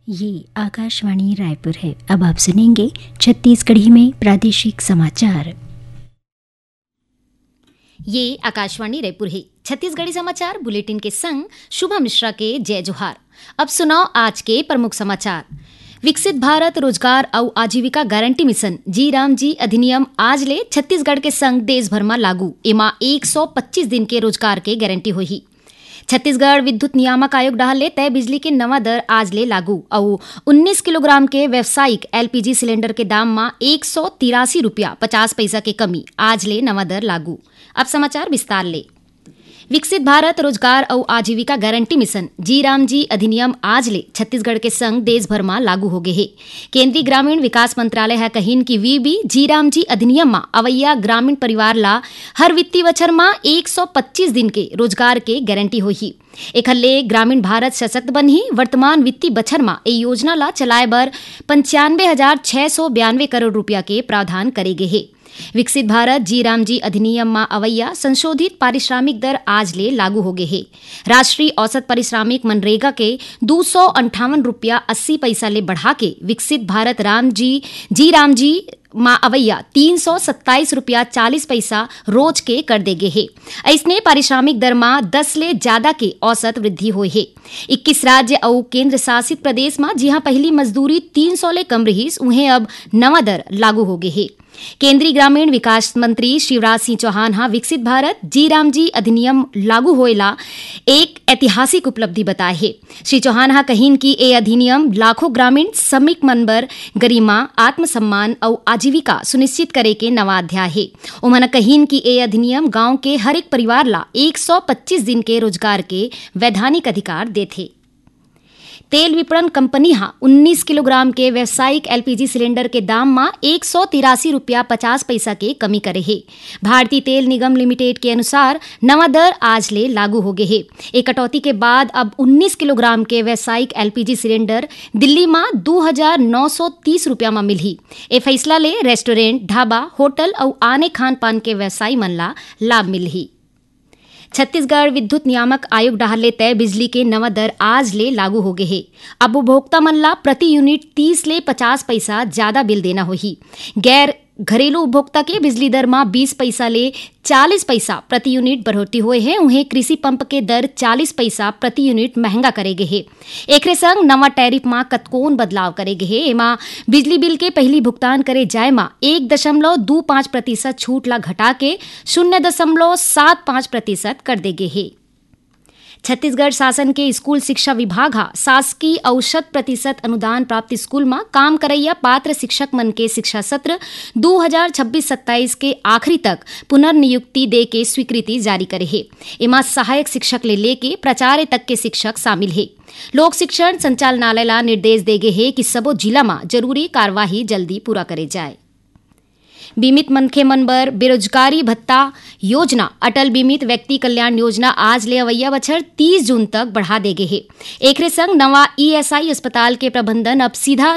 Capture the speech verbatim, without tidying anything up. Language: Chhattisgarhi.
ये आकाशवाणी रायपुर है। अब आप सुनेंगे छत्तीसगढ़ी में प्रादेशिक समाचार। ये आकाशवाणी रायपुर है। छत्तीसगढ़ी समाचार बुलेटिन के संग शुभा मिश्रा के जय जोहार। अब सुनव आज के प्रमुख समाचार। विकसित भारत रोजगार अउ आजीविका गारंटी मिशन जी राम जी अधिनियम आज ले छत्तीसगढ़ के संग देश भर म लागू। एमा एक सौ पच्चीस दिन के रोजगार के गारंटी होही। छत्तीसगढ़ विद्युत नियामक आयोग डहार ले तय बिजली के नवा दर आज ले लागू अउ उन्नीस किलोग्राम के व्यावसायिक एलपीजी सिलेंडर के दाम म एक सौ तिरासी रुपया पचास पैसा के कमी, आज ले नवा दर लागू। अब समाचार विस्तार ले। विकसित भारत रोजगार अउ आजीविका गारंटी मिशन जी राम जी अधिनियम आज ले छत्तीसगढ़ के संग देश भर म लागू हो गे हे। केंद्रीय ग्रामीण विकास मंत्रालय ह कहिन कि वीबी जी राम जी अधिनियम म अवइया ग्रामीण परिवार ला हर वित्तीय बछर म एक सौ पच्चीस दिन के रोजगार के गारंटी होही। एखर ले ग्रामीण भारत सशक्त बनही। वर्तमान वित्तीय बछर म ए योजना ला चलाए बर पंचानवे हजार छह सौ बयानवे करोड़ रुपया के प्रावधान करे गे हे। विकसित भारत जी राम जी अधिनियम म अवइया संशोधित पारिश्रमिक दर आज ले लागू हो गे हे। राष्ट्रीय औसत पारिश्रमिक मनरेगा के दू सौ अंठावन रुपया अस्सी पैसा ले बढ़ा के विकसित भारत राम जी, जी राम जी म अवइया तीन सौ सत्ताईस रुपया चालीस पैसा रोज के कर दे गे हे। अइसने पारिश्रमिक दर म दस ले ज्यादा के औसत वृद्धि होए हे। इक्कीस राज्य अउ केंद्र शासित प्रदेश म जिहां पहिली मजदूरी तीन सौ ले कम रिहिस, उहें अब नवा दर लागू हो गे हे। केंद्रीय ग्रामीण विकास मंत्री शिवराज सिंह चौहान ह विकसित भारत जी राम जी अधिनियम लागू होए ला एक ऐतिहासिक उपलब्धि बताए हे। श्री चौहान ह कहिन कि ए अधिनियम लाखों ग्रामीण श्रमिक मन बर गरिमा, आत्मसम्मान अउ आजीविका सुनिश्चित करे के नवा अध्याय हे। उमन कहिन कि ए अधिनियम गांव के हर एक परिवार ला एक सौ पच्चीस दिन के रोजगार के वैधानिक अधिकार देथे। तेल विपणन कंपनी ह उन्नीस किलोग्राम के व्यावसायिक एलपीजी सिलेंडर के दाम म एक सौ तिरासी रुपया पचास पैसा के कमी करे हे। भारतीय तेल निगम लिमिटेड के अनुसार नवा दर आज ले लागू हो गे हे। ए कटौती के बाद अब उन्नीस किलोग्राम के व्यावसायिक एलपीजी सिलेंडर दिल्ली म दू हजार नौ सौ तीस रुपया म मिलही। ए फैसला ले रेस्टोरेंट, ढाबा, होटल अउ आने खान पान के व्यवसायी मन ला लाभ मिलही। छत्तीसगढ़ विद्युत नियामक आयोग डहार ले तय बिजली के नवा दर आज ले लागू हो गे हे। अब उपभोक्ता मन ला प्रति यूनिट तीस ले पचास पैसा ज्यादा बिल देना होही। गैर घरेलू उपभोक्ता के बिजली दर म बीस पैसा ले चालीस पैसा प्रति यूनिट बढ़ोतरी होए हे। उहें कृषि पंप के दर चालीस पैसा प्रति यूनिट महंगा करे गे हे। एकरे संग नवा टैरिफ म कतकोन बदलाव करे गे हे। एमा बिजली बिल के पहिली भुगतान करे जाए म एक दशमलव दू पाँच प्रतिशत छूट ला घटा के शून्य दशमलव सात पाँच प्रतिशत कर दे गे हे। छत्तीसगढ़ शासन के स्कूल शिक्षा विभाग ह शासकीय अउ शत प्रतिशत अनुदान प्राप्त स्कूल म काम करइया पात्र शिक्षक मन के शिक्षा सत्र दू हजार छब्बीस सत्ताईस के आखिरी तक पुनर्नियुक्ति दे के स्वीकृति जारी करे हे। एमा सहायक शिक्षक ले लेके प्राचार्य तक के शिक्षक शामिल हे। लोक शिक्षण संचालनालय ला निर्देश दे गे हे कि सबो जिला म जरूरी कार्यवाही जल्दी पूरा करे जाए। बीमित मनखे मन बर बेरोजगारी भत्ता योजना, अटल बीमित व्यक्ति कल्याण योजना आज ले अवइया बछर तीस जून तक बढ़ा दे गे हे। एकरे संग नवा ईएसआई अस्पताल के प्रबंधन अब सीधा